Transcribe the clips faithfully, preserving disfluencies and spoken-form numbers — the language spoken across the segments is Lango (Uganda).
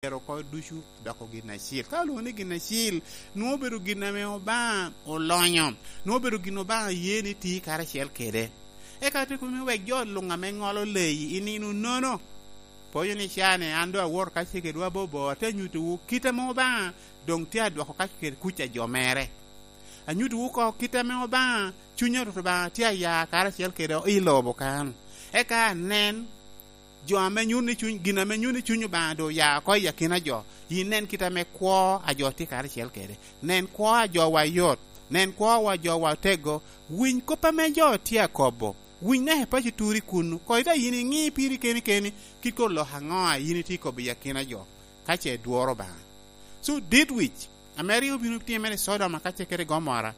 myero oko ducu doko gin acil. Ka olwoŋo ni gin acil, nwoŋo obedo gin ame Obaŋa olonyo, nwoŋo obedo gin Obaŋa ye ni ti karacel kede. Eka te kono wek jo luŋ ame ŋolo leyi i nino nono. Poyo ni ca ni an doŋ awoto kacel kedwa bobo, ate nyutowu kit ame Obaŋa doŋ tye adwoko kacel kede kuc a jo mere. Anyutowu oko kit ame Obaŋa, cuny a Rwot Obaŋa tye aya karacel kede i lobo kan. Eka anen, jo ame nyuto ni cuny, gin ame nyuto ni cuny Obaŋa doŋ oya oko i akina jo, inen kit ame kwo a jo tye karacel kede. Nen kwo a jowa yot, nen kwo a jowa otego, winy kop ame jo tye akobo, winy naka i paco turi kunnu, koŋ ite yin iŋi piri keni keni, kit koŋ lok aŋo a yin itye kobo i akina jo, ka ce idworo Obaŋa. So, dit wic, ame rik obino timere i Sodoma ka ce kede Gomora,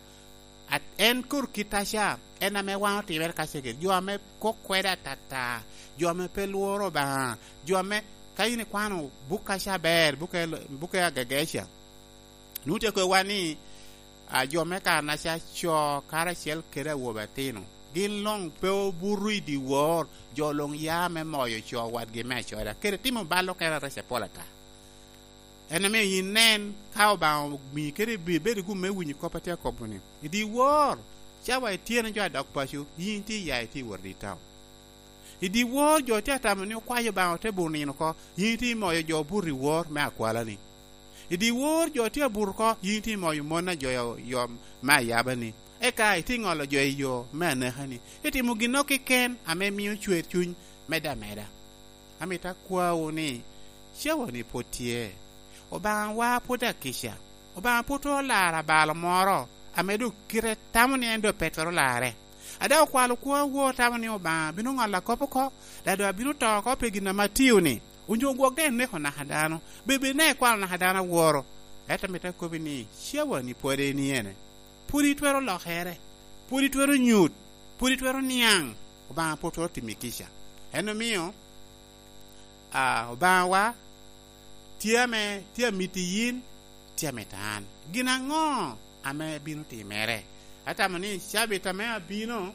At-, en kur kit aca, en ame wan otimere ka cegel, jo ame kok kwede atata, jo ame pe lworo Obaŋa, jo ame ka in ikwano buk aca aber, buke, buke agageca, nwoŋo tye kowa ni, a, jo me kanaca co karacel kede awobe atino, gin luŋ pe obuto i dyewor, jo luŋ ya me moyo co wadgi me acoda, kede timo bal okene areca pol ata. En omio yin nen, ka Obaŋa omii kede ibe-, ibedo i gum me winyo kop atye akobo-ni, i dyewor, cawa ityeno jo adok paco, yin tye iya itye i wot i taun. I dyewor jo tye atamo ni okwayo Obaŋa ote buto nino oko, yin tye imoyo jo obuto i wor me akwalani. I dyewor jo tye abuto oko, yin tye imoyo mon a jo yo, yo me ayabani. Eka itye ŋolo jo i yo me anekani. Itimo ginnoro keken ame mio cwer cuny medde ameda. Amito akwawu ni, cawa-ni pwod tye. Obaŋawa pwod akica. Obaŋa pwod twero laro abalo moro ame doŋ kite tamo ni en doŋ pe twero larre. A dok okwalo kwowa, otamo ni Obaŋa bino ŋolo akop oko, dok doŋ abino to oko pi gin ame atio-ni. Onyo gwok daŋ eneko naka dano, bed bed naka ikwalo naka dano aworo. Ento amito akobbi ni, cawa-ni pwod en iyene. Pwod itwero lokere, pwod itwero nyut, pwod itwero niaŋ, Obaŋa pwod twero timi kica. En omio, a, Obaŋawa tye ame, tye amiti yin, tye amito an. Gin aŋo ame bino timere? Atamo ni cabit ame abino,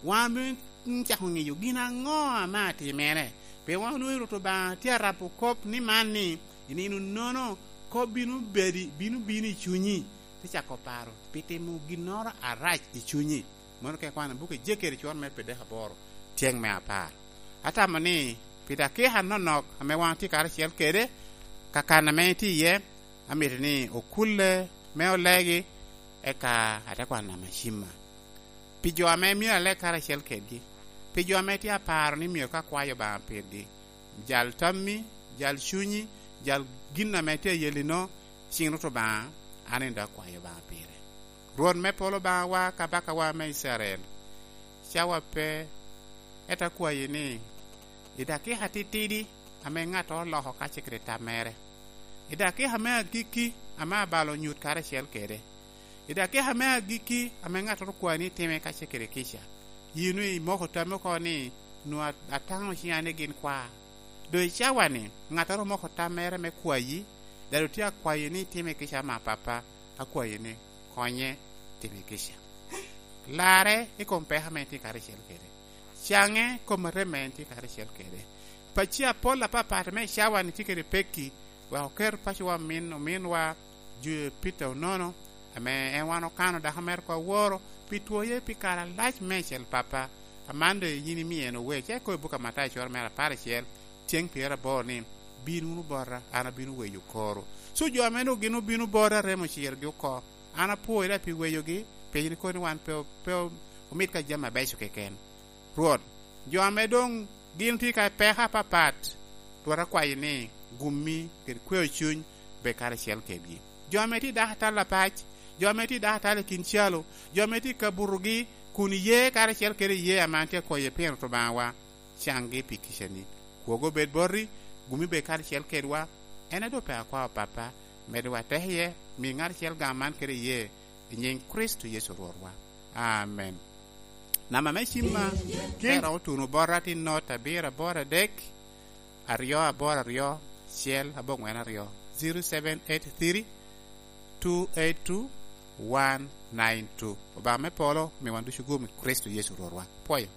wan bino cako ŋeyo gin aŋo ame atimere. Pien wan onwoŋo Rwot Obaŋa tye arabo kop ni man ni, i nino nono, kop bino bedi, bino bino i cunyi, te cako paro pi timo ginnoro arac i cunyi. Mano ka ikwano buk Ejekeri cwor me pyeradek aboro, tyeŋ me apar. Atamo ni pi dakika anonok ame wan otye karacel kede, kakan ame itye iye, amito ni okulle me olegi, eka ate kwano amacima. Pi jo ame myero aleg karacel kedgi, pi jo ame tye aparo ni myero ka kwayo Obaŋa pirgi, jal tammi, jal cunyi, jal gin ame tye ayelino, ciŋ Rwot Obaŋa, an en dok akwayo Obaŋa pire. Rwot me polo Obaŋawa, Kabakawa me Icrael, cawa pe, ento akwayi ni, i dakika titidi ame ŋattoro oloko kacel kede tam mere, i dakika me agikki ame abalo onyut karacel kede, i dakika me agikki ame ŋattoro okwayi ni time kacel kede kica, yin imoko tammi oko ni, nwoŋo at-, ataŋo ciŋa ni gin kwa. Doŋ i cawa-ni, ŋattoro omoko tam mere me kwayi, dok doŋ tye akwayi ni time kica ama, Pappa, akwayi ni konye, time kica. Larre i kom peko ame en tye karacel kede. Caŋe i kom arem ame en tye karacel kede. Pacci apol apapat ame i cawa-ni tye kede pekki, wek oket pacowa omin, ominwa jo Pita onono, ame en wan okano dako mere oko aworo, pi twoye pi kare alac meicel, Pappa. Aman doŋ yin imio en ower, ca ikobo i buk a Matayo cwero mere apar acel, ceng pyeraboro ni, "Bin wunu bota, an abino weyo koro." So jo ame doŋ gin obino bota, remo ocirogi oko. An apwoyi daŋ pi weyogi, pien ikobo ni wan pe, pe omito ka jami abeco keken. Rwot, jo ame doŋ gin tye ka peko apapat, Rwot akwayi ni gummi kede kweo cuny bed karacel kedgi. Jo ame tye i dako atal apac, jo ame tye i dako atal i kin calo, jo ame tye ka butogi kun iye karacel kede iye ame an tye akwayi pien Rwot Obaŋawa, caŋgi pi kicani. Kwogo bed boti, gummi bed karacel kedwa, en a doŋ pe akwao, Pappa, medwa teko iye, mi ŋat acel gam man kede iye, i nyiŋ Kricito Yecu Rwotwa. Amen. Namba me cimma, kin me romo tuno bota tin not abiro aboro adek, aryo aboro aryo, acel aboŋwen aryo, zero seven eight three, two eight two, one nine two. Obaŋa me polo, mi wan ducu gum i Kricito Yecu Rwotwa. Pwoyo.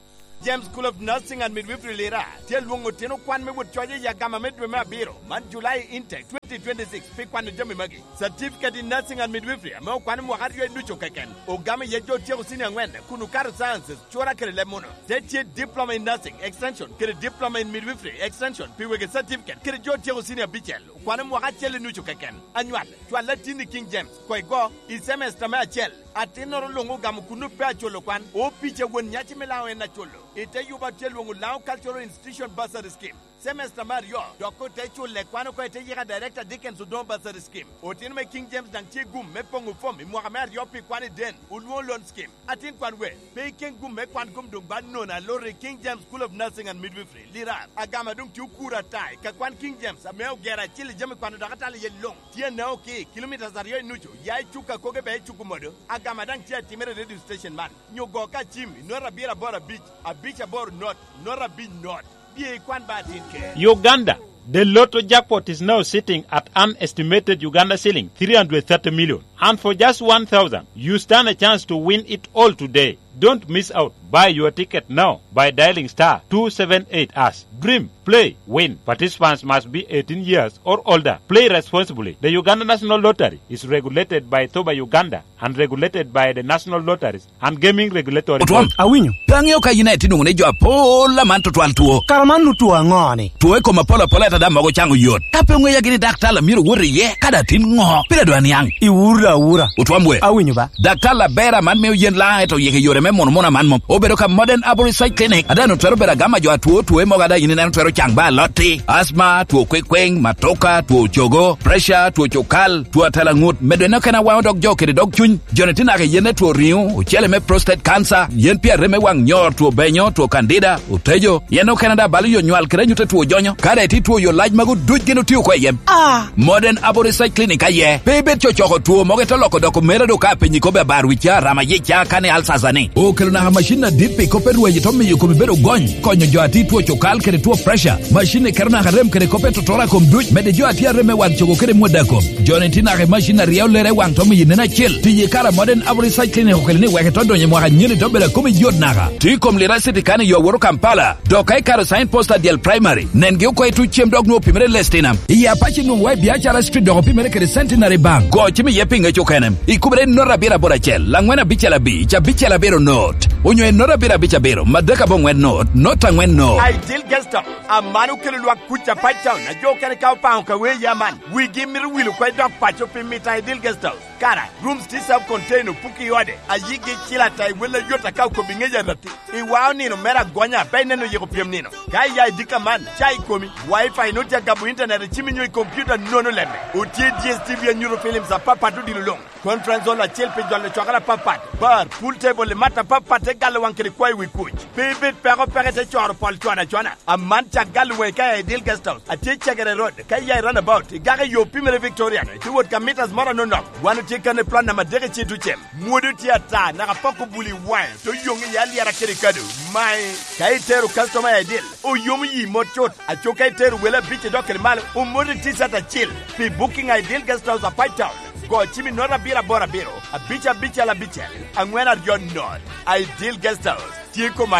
James School of Nursing and Midwifery Lira tye alwoŋo otino kwan me wot coc i agama me dwe me abiro man, July intake twenty twenty-six, pi kwano jami magi. Certificate in Nursing and Midwifery ame okwano mwaka aryo i ducu keken, ogamo iye jo otyeko senior angwen kun okato sciences, cura kede leb muno. Te tye Diploma in Nursing Extension kede Diploma in Midwifery Extension pi wegi certificate kede jo otyeko senior abicel okwano mwaka acel i nucu keken. Anywal, cwal atin i King James, koigo, i semester me acel. Atinnoro luŋ ogamo kun ope aculo kwan. Opic a won nyaci me Laŋo en aculo. I te yuba tye lwoŋo Laŋo Cultural Institution Bursary Scheme. Semester me aryo, dok ote culle kwan oko i te yika Director Dickens Odongo Bursary Scheme. Otino me King James daŋ tye gum me poŋo fom i mwaka me aryo pi kwan i den, olwoŋo loan scheme. Atin kwan we, pe iken gum me kwan kom doŋ ba nono aloro i King James School of Nursing and Midwifery, Lirar. Agama doŋ tye okuro ata i ka kwan King James ame ogero acil i jami kwano dok atalo iye luŋ. Tye anao ki kilomitas aryo i nucu, ya i Cuka koge bea i Cukumodo. Agama daŋ tye atimere i radio station man. Nyo go ka cim i nota abiro aboro abic, abic aboro not, nota abic not. Bye ikwan ba atin ker. Uganda, the lotto jackpot is now sitting at an estimated Uganda shilling three hundred thirty million. And for just one thousand, you stand a chance to win it all today. Don't miss out. Buy your ticket now by dialing star two seven eight hash. Dream, play, win. Participants must be eighteen years or older. Play responsibly. The Uganda National Lottery is regulated by Thoba Uganda and regulated by the National Lotteries and Gaming Regulatory Otwom, Board. Awinyo. Pe aŋeo ka yin aye itye nwoŋo ni jo apol aman tutwal two. Kara man nu two aŋo ni? Two i kom apol apol ata daŋ mogo caŋo yot. Ka pe oŋeya gini daktar a myero wot iye, ka daŋ tin ŋo? Pire dwa niaŋ. Iwura awura. Otwom we. Awinyo ba. Daktar aber aman mio yen Laŋo, ento yeke yore me muno muno aman mom. Obedo ka Modern Arborist Side Clinic. Ada nu twero bedo agama jo atwo two mogo ada yin ineno twero caŋ ba alotti. Asthma, two kwekweng, matoka, two cogo, pressure, two cukal, two atela ŋut, medo en okene awaŋo dog jo kede dog cuny. Joni tye naka i yen me two riŋo, ocele me prostate cancer, yen pi arem me waŋ nyor, two benyo, two candida, otejo, yen okene daŋ balo yo nywal kede anyut a two jonyo. Ka daŋ itye two yo lac magu duc gin otio oko i yen. Ah! Modern Arborist Side Clinic aye. Pe ibed cocoko two mogo ite loko doko mere do ka piny ikobe abar wicca, rama yica, kani alsasa ni. Okelo naka macin adit pi kop me rwaci to miyo komi bedo gony, konyo jo a tye two cukal kede two pressure. Macin ni keto naka rem kede kop me totoro a kom duc, mede jo a tye arem me waŋ cogo kede mwada kom. Joni tye naka i macin a ryeo lere i waŋ to miyo nen acel. Tiyo i kare a Modern Arborist Side Clinic okelo ni wek ito donyo i mwaka anyen ito bedo a komi yot naka. Tye i kom Lira City kani yo aworo Kampala. Dok ka ikato sign post a dyel primary, nengi oko i tuc cem dok nwoŋo opimere i Lestinam. I Apac inwoŋo wa i Biacara Street dok opimere kede Centenary Bank. Go cim iye pi ŋec okene. Ikubere i nota abiro aboro acel, angwen abicel abic, abicel abiro not. Onyo i nota abiro abic abiro, madek aboŋwen not, not angwen not. Ideal Guest House, aman okelo lwak kuc Apac Town, a jo okene ka opaŋo ka wee ya man. Wigi mito wilo kwe dok paco pi mito Ideal Guest House. Kara, rooms tye self contained, opuki i ode, a yigi cil ata i wel ayot aka okobi ŋec arati. I wao nino mere agonya, pe ineno yiko pyem nino. Ka iya i dika man, ca i komi, Wi-Fi nut ya gabo internet i cimi nyo i computer nono lemme. Otye D S T V anyuto films apapat odilo luŋ. Conference hall acel pi jolo cokere apapat. Bar, pool table i mat apapat te galo waŋ kede kwayo wi kuc. Pe ibed peko peke te coro pol cwana cwana. Aman cak galo waŋi ka i Ideal Guest House. Atye Cegere Road, ka iya i roundabout, igako i yo pimere Victoria, ite wot ka meters moro anonok. Wan otye kan i plot namba adek i Citucem. Mwodo tye ata, naka poko buli i waŋe, to yoŋ i alyera kede kado. Mae, ka itero customer i Ideal, oyomo yi mot cut. Aco ka itero wele abic idok kede malo, omoti T-shirt acil. Pi booking a Ideal Guest House Apac Town, go cim i nota abiro aboro abiro, abic abicel abicel, angwen aryo not. Ideal Guest House, tye koma